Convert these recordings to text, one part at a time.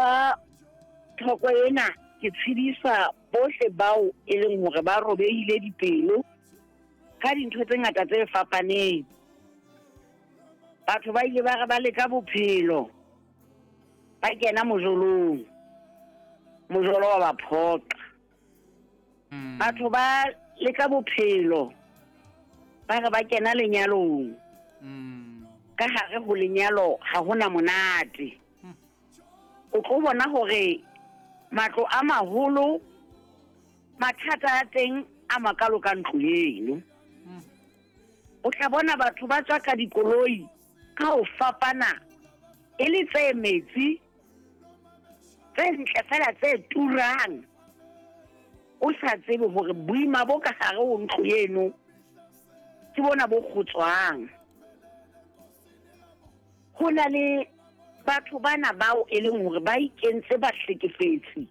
Ka thoko ena ke tshedisa bohle bao e leng hore ba robehile dipelo ka dintho tse ngata tse fapaneng. Batho ba ile ba re ba leka bophelo ba kena mojolong, mojolo wa ba phoqa. Batho ba leka bophelo ba re ba kena lenyalong, ka hare ho lenyalo ha hona monate. O tlo bona hore matlo a maholo mathata a teng a makalo ka ntlo eno. O tla bona batho ba tswa ka dikoloi ka ho fapana e le tse metsi, tse ntle fela tse turang, o sa tsebe hore boima bo ka hare ho ntlo eno ke bona bo kgotswang. Ho na le batho bana bao e leng hore ba ikentse bahlekefetsi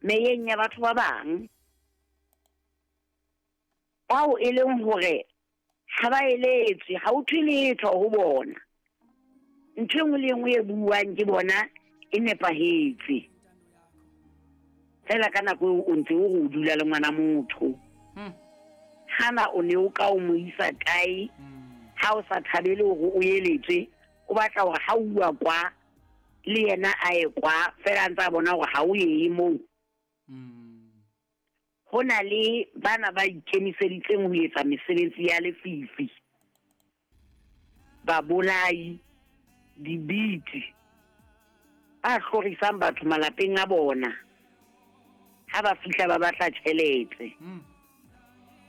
meyeng ya batho ba bang, bao e leng hore ha ba eletswe, ha o thwe letho ho bona. Ntho e nngwe le e nngwe e buuwang ke bona e nepahetse. Fela ka nako eo o ntse o re o dula le ngwana motho. Hana o ne o ka o mo isa kae ha o sa thabele hore o eletswe, o batla hore ha o uwa kwa le yena a ye kwa, fela a ntse a bona hore ha o ye moo. Ho na le bana ba ikemiseditseng ho etsa mesebetsi ya lefifi, babolai, dibiti, ba hlorisang batho malapeng a bona ha ba fihla ba batla tjhelete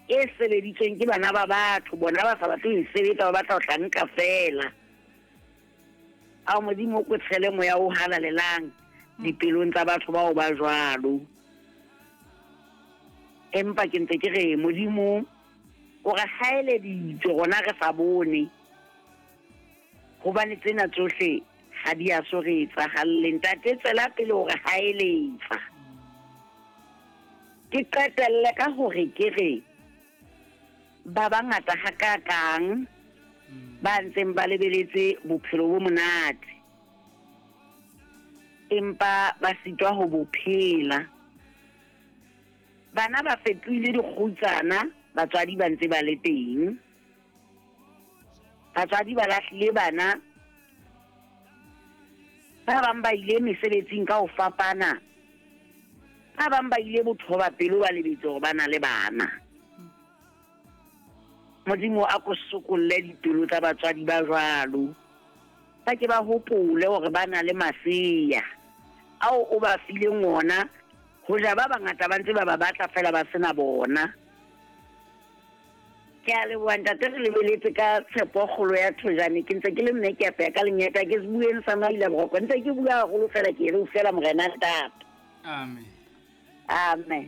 e sebeditsweng ke bana ba batho, bona ba sa batle ho e sebetsa, ba batla ho tla nka fela. Ao Modimo, o ko tshele moya o halalelang dipelong tsa batho bao ba jwalo. Empa ke ntse ke re Modimo o re haeleditse rona re sa bone, hobane tsena tsohle ha di a so re etsahalle. Ntate, tswela pele hore haeletsa. Ke qetelle ka hore ke re ba bangata hakakang ba ntseng ba lebeletse bophelo bo monate, empa ba sitwa ho bo phela. Bana ba fetohile dikgutsana, batswadi ba ntse ba le teng. Batswadi ba lahlile bana, ba bang ba ile mesebetsing ka ho fapana, ba bang ba ile bothoba pelo ba lebetse hore ba na le bana. Modimo a ko sokolle dipelo tsa batswadi ba jwalo, ba ke ba hopole hore ba na le masea ao o ba fileng ona, hoja ba bangata ba ntse ba ba batla fela ba sena bona. Ke a leboha ntate, re lebeletse ka tshepo kgolo ya thojane. Ke ntse ke le mme ke apeya ka lenyeta, ke se bueng sa maila boroko, ntse ke bua haholo fela ke re o fela morena ntate. Amen. Amen.